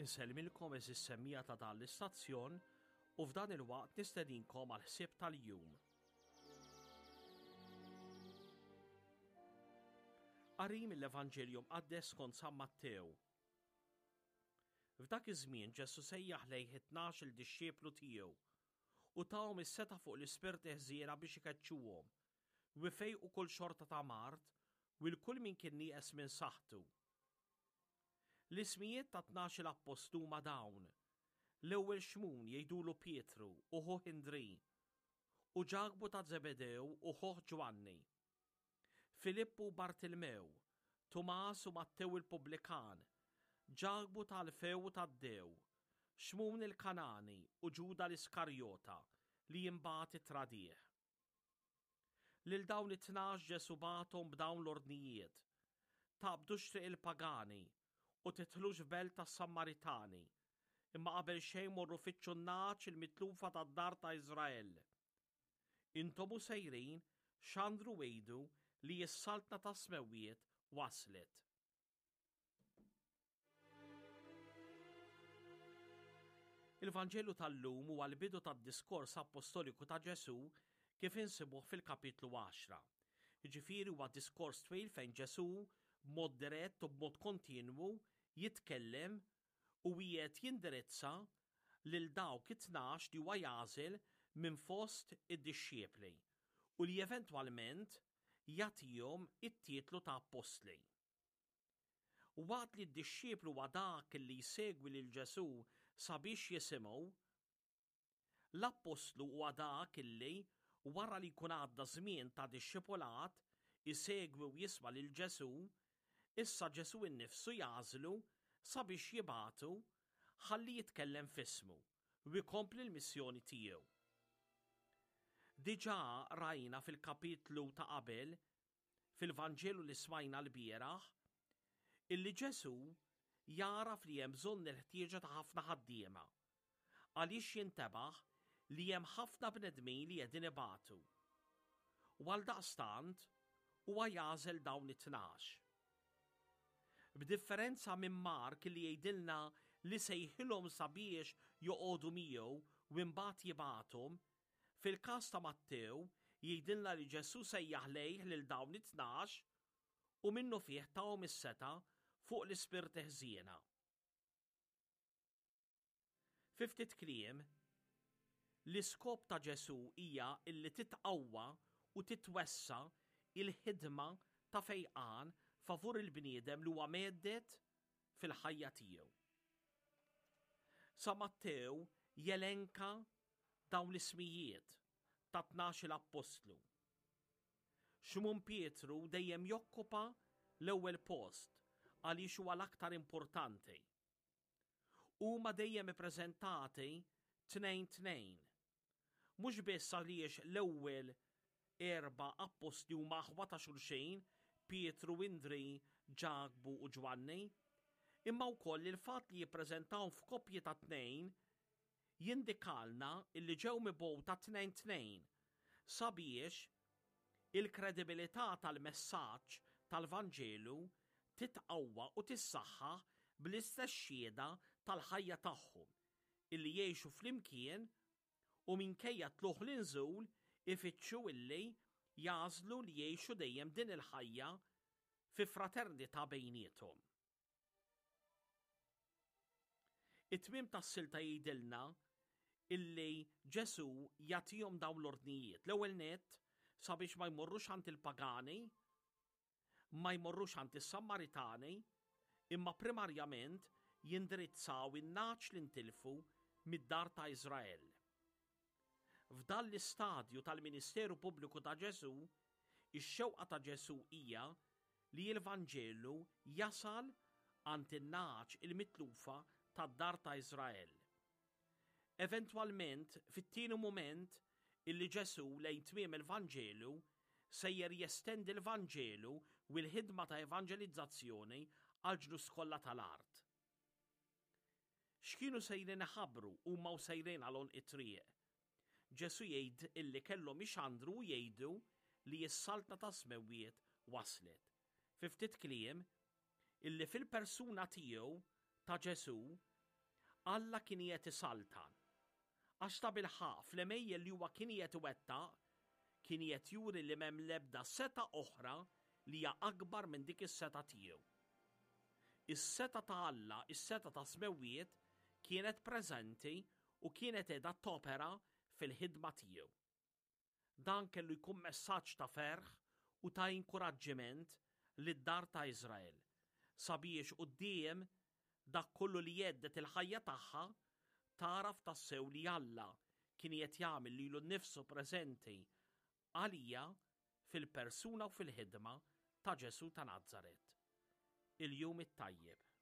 Insellmilkom eżis semmija ta' dan l-istazzjon u f'dan il-waqt nistedinkom għal ħsieb tal-jum. Qari mill-Evanġelju Mqaddes skont San Mattew. F'dak iż-żmien Ġesù sejjaħ lejh it-tnax-il dixxiplu tiegħu u tahom is-setgħa fuq l-ispirti ħżiena biex ikeċċuhom u jfejqu kull xorta ta' mard u 'l kull min kien nieqes minn saħħtu. L-ismijiet tat-tnax-il appostlu huma dawn, l-ewwel Xmun jgħidulu Pietru u ħuh Indrì, u Ġakbu ta' Żebedew u ħuh Ġwanni, Filippu u Bartilmew, Tumas u Mattew il-pubblikan, Ġakbu ta' Alfew u Taddew, Xmun il-Kanani u Ġuda l-Iskarjota li imbagħad ittradih. Lil dawn it-tnax Ġesù bagħathom b'dawn l-ordnijiet, Taqbdux triq il-pagani u tidħlux f'belt tas-Sammaritani, imma qabel xejn morru fittxu n-nagħaġ il-mitlufa tad-dar ta' Iżrael. Intom u sejrin, xandru u għidu li s-saltna tas-smewwiet waslet. Il-Vanġelu tal-lum huwa l-bidu tad-diskors appostoliku ta' Ġesù kif insibuh fil-kapitlu 10. Jiġifieri huwa diskors twil fejn Ġesù b'mod dirett u b'mod kontinwu jitkellem u qiegħed jindirizza lil dawk it-tnax li huwa jagħżel minn fost id-dixxiepli u li eventwalment jagħtihom it-titlu ta' appostli. Waqt li d-dixxiplu huwa dak li jsegwi lil Ġesù sabiex jisimgħu, l-appostlu huwa dak li, wara li jkun għadda żmien ta' dixxipulat, isegwi u jisma' lil Ġesù, issa Ġesù innifsu jagħżlu sabiex jibagħtu ħalli jitkellem f'ismu u jkompli l-missjoni tiegħu. Diġà rajna fil-kapitlu ta' qabel fil-Vanġelu li smajna lbieraħ, illi Ġesù jagħraf li hemm bżonn il-ħtieġa ta' ħafna ħaddiema, għaliex jintebaħ li hemm ħafna bnedmin li qegħdin ibatu. U għaldaqstant huwa jagħżel dawn it-tnax. B'differenza minn Mark li jgħidilna li sejħilhom sabiex joqogħdu miegħu u imbagħad jibgħathom, Fil-każ ta' Mattew, jgħidilna li Ġesù sejjaħ lejh lil dawn it-tnax u minnufih tahom is-setgħa fuq l-ispirti ħżiena. Fi ftit kliem, l-iskop ta' Ġesù hija illi titqawwa u titwessa' il-ħidma ta' fejqan favur il-bniedem li huwa mhedded fil-ħajja tiegħu. Sa Mattew jelenka dawn l-ismijiet ta' tnax-il appostlu. Xmun Pietru dejjem jokkupa l-ewwel post għaliex huwa l-aktar importanti. Huma dejjem ippreżentati tnejn tnejn. Mhux biss għaliex l-ewwel erba' appostli huma aħwa ta' xulxin, Pietru, Indri, Ġakbu u Ġwanni, imma wkoll il-fatt li jippreżentahom f'koppji ta' tnejn jindikalna illi ġew mibgħuta tnejn tnejn sabiex il-kredibilità tal-messaġġ tal-Vanġelu titqawwa u tissaħħaħ bl-istess xhieda tal-ħajja tagħhom illi jgħixu flimkien u minkejja t-tlugħ l-inżul ifittxu illi jagħżlu li jgħixu dejjem din il-ħajja fi fraternità bejniethom. It-tmiem tas-silta jgħidilna illi Ġesù jagħtihom dawn l-ordnijiet. L-ewwel nett sabiex ma jmorrux għand il-pagani, ma jmorrux għand is-Sammaritani, imma primarjament jindirizzaw in-nagħaġ li ntilfu mid-dar ta' Iżrael. F'dan l-istadju tal-ministeru pubbliku ta' Ġesù, ix-xewqa ta' Ġesù hija li l-Vanġelu jasal għand in-nagħaġ il-mitlufa tad-dar ta' Iżrael. Eventwalment, fit-tieni mument illi Ġesù lejn tmiem il-Vanġelu sejjer jestendi l-Vanġelu u l-ħidma ta' evanġelizzazzjoni għall-ġnus kollha tal-art. X'kienu sejrin iħabbru huma u sejrin għal għonq it-triq? Ġesù jgħid illi kellhom ixandru u jgħidu li s-Saltna tas-Smewwiet waslet. Fi ftit kliem, illi fil-persuna tiegħu, ta' Ġesù, Alla kien qiegħed isaltan. Għax tabilħaqq fl-għemejjel li huwa kien qiegħed iwettaq, kien qiegħed juri li m'hemm l-ebda setgħa oħra li hija akbar minn dik is-setgħa tiegħu. Is-setgħa ta' Alla, is-setgħa tas-smewwiet, kienet preżenti u kienet qiegħda topera fil-ħidma tiegħu. Dan kellu jkun messaġġ ta' ferħ u ta' inkuraġġiment lid-dar ta' Iżrael, sabiex quddiem dak kollu li jhedded il-ħajja tagħha, tagħraf tassew li Alla kien qiegħed jagħmel lilu nnifsu preżenti għalija fil-persuna u fil-ħidma ta' Ġesù ta' Nazaret. Il-Jum it-Tajjeb.